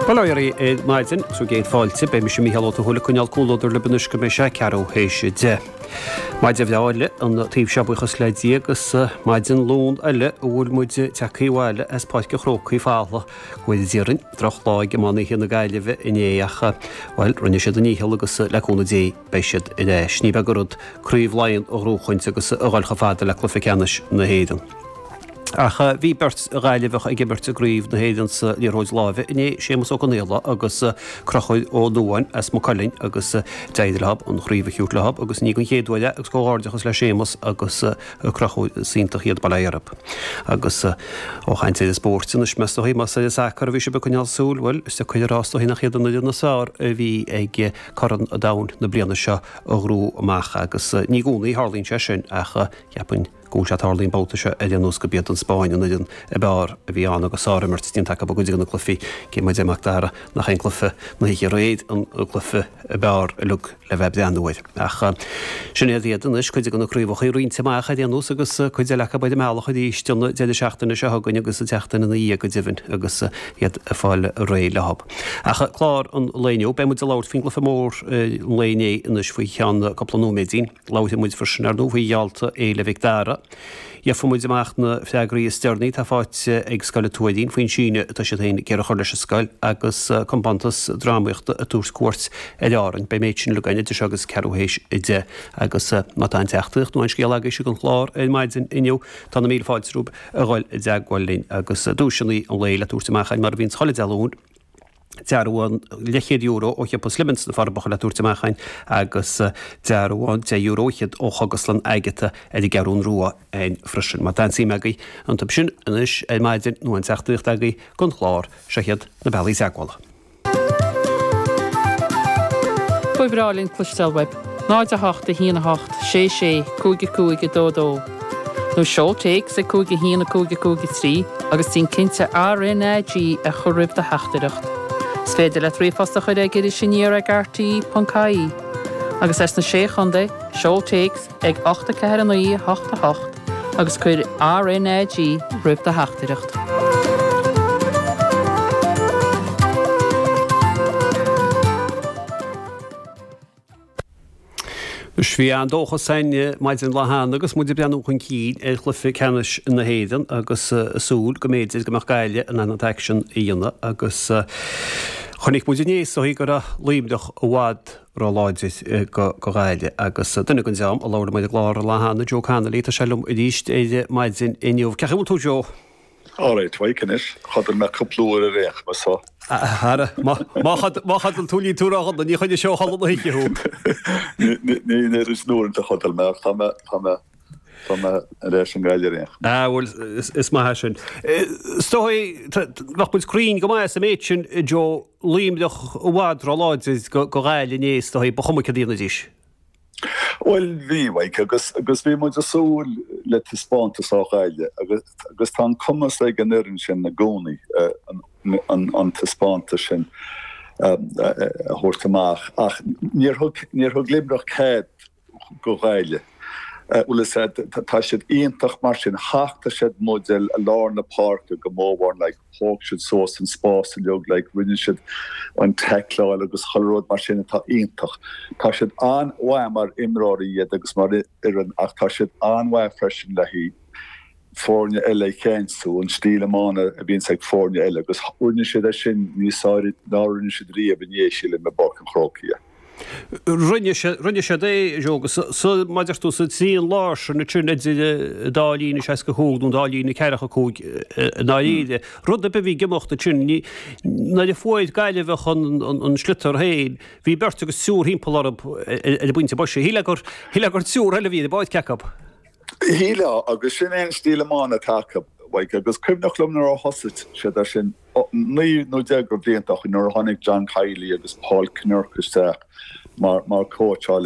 Bail ó Dhia oraibh ar maidin, agus bhur gcéad fáilte. Beidh mise Mícheál Ó Tuathail ag coinneáil comhluadar libh anois go mbeidh sé ceathrú théis 10. Maidin bhreá eile an taobh seo buíochas le Dia agus maidin Luain eile a bhfuil muid tagtha abhaile as Páirc an Chrócaigh folamh go bhfóire Dia orainn. Droch lá ag iománaithe na Gaillimhe inné ach, bhuel, rinne siad a ndícheall agus le cúnamh Dé beidh siad ar ais. Ní beag an rud Craobh Laighean a ghnóchaint agus a dhul chomh fada le cluiche ceannais na hÉireann. Ach bhí beirt Ghaillimheach ag imirt i gCraobh na hÉireann sa liathróid láimhe inné, Séamus Ó Conaola agus Conchúr Ó Nuadháin as Maigh Cuilinn agus d'éirigh leo an chraobh a thabhairt leo agus ní den chéad uair é agus comhghairdeachas le Séamus agus Conchúr, is iontach iad, bail ó Dhia orthu. Agus ó chaint ar an spórt anois, meas tú más ar an sacar a bhí sibh ag coinneáil súil, bhuel, is deacair a rá is dóichí nach iad an fhoireann is fearr a bhí ag Corn an Domhain na bliana seo a ghnóthú amach agus ní i gcónaí a tharlaíonn sé sin ach cheapfainn go bhfuil sé ag tarlú an babhta seo ar aon nós gurb iad an Spáinn an fhoireann ab fhearr a bhí ann agus sárimirt déanta acu i gcuid de na cluichí, cé mar a deir Mac Dara nach é an cluiche na hoíche aréir an cluiche ab fhearr uilig le bheith ag breathnú air. Ach sin iad iad anois, cuid de na craobhacha roinnte amach ar aon nós agus cuid eile acu ar an mbealach arís don deireadh seachtaine seo chugainn agus an tseachtain ina dhiaidh go deimhin agus iad ag fáil réidh leo. Ach clár an lae inniu, beidh muid ag labhairt faoin gcluiche mór an lae inné anois faoi cheann cúpla nóiméidín. Labharfaidh muid freisin, ar ndóigh, faoi gheallta Fhéile Mhic Dara. Gheobhaidh muid amach na freagraí is deireanaí atá faighte ag Scoil an Tuairín faoin síneadh atá siad féin ag iarraidh a chur leis an scoil agus compántas drámaíochta ag tabhairt cuairt ar Árainn. Beidh an méid sin uilig againn idir seo agus ceathrú théis 10 agus má tá aon teachtaireacht nó aon scéal agaibhse don chlár ar maidin inniu, tá na míle fáilte romhaibh a dhul i dteagmháil linn agus duaiseanna an lae le tabhairt amach againn mar a bhíonns chuile Dé Luain. Dearbhán leathchéad euro ó shiopa Slimmins sna Forbacha le tabhairt amach againn agus dearbhán €10 fhichead ó Chógaslann Agatha ar an gCeathrún Rua againn freisin. Má tá aon suim agaibh iontu sin anois ar maidin nó aon teachtaireacht agaibh don chlár, seo iad na bealaí teagmhála. Ba bhreá linn cloisteáil uaibh. 0 8 1 8 6 6 5 5 2 2 Nó seol téacs ag 5 1 5 5 3 agus déan cinnte RnaG a chur roimh do theachtaireacht. Is féidir leat ríomhphost a chur ag irisaniar ag rte.ie. Agus as na Sé Chontae, seol téacs ag 8 4 9 8 8 agus cuir RnaG roimh do theachtaireacht. Anois bhí an-dóchas againn maidin lá cheana agus muid ag breathnú chun cinn ar chluiche ceannais na hÉireann agus ag súil go mb'fhéidir go mbeadh Gaillimh in ann an t-aicsean a dhéanamh agus chonaic muid inné is dóigh go raibh Luimneach i bhfad ró-láidir do Ghaillimh agus duine den dream a labhair liom ar an gclár an lá cheana, Joe Connolly, tá sé liom arís ar maidin inniu. Cén chaoi a bhfuil tú Joe? Alright, Mike anois, chodail mé cúpla uair ar aon chuma so. Ara, má chodail tú níl tú ródhona, ní choinneoidh sé ó chodladh na hoíche thú. Ní an oiread sin uaireanta a chodail mé ach tá mé, tá mé, tá mé ar ais i nGaillimh ar aon chuma. Ah bhuel, is maith é sin. Is dóigh, bheadh muid cruinn go maith sa méid sin, Joe, Luimneach i bhfad róláidir do Ghaillimh inné is dóigh, ba chuma céard a dhéanfaidís. Bhuel, bhí, Mike, agus agus bhí muid ag súil le taispeántas ó Ghaillimh agus agus tá an cumas ag an fhoireann sin i gcónaí an an taispeántas sin a thabhairt amach ach níor thug níor thug Luimneach cead do Ghaillimh. Bhuel, is ea, tá siad iontach mar sin, thachtadh siad muid i lár na páirce go mórmhór, like. Thóg siad suas an spás uilig, like, rinne siad an taicleáil agus chuile rud mar sin atá iontach. Tá siad an-mhaith mar imreoirí iad agus mar fhoireann ach tá siad an-mhaith freisin le haghaidh foirne eile a cheansú, an stíl iomána a bhíonns ag foirne eile agus rinne siad é sin níos fearr ná rinne siad riamh inné, sílim, i bPáirc an Chrócaigh. Rinne siad, rinne siad é, Joe, agus sa, mar a deir tú, sa trian láir sin ansin idir an dá líne 65 nó an dá líne 45 i ndáiríre. Rud ar bith a bhí ag imeacht ansin, ní, nuair a fuair Gaillimheach an, an sliotar féin, bhí beirt agus triúr thimpeall orthu ar an bpointe boise. Shílfeá gur, shílfeá gur triúr eile a bhí ar an bpáirc acu. Shílfeá, agus sin é an stíl iomána atá acu, Mike, agus cuimhneach liom nuair a thosaigh siad ar sin, 9 nó 10 de bhlianta ó shin nuair a tháinig John Kiely agus Paul Kinnerk isteach mar cóitseálaí.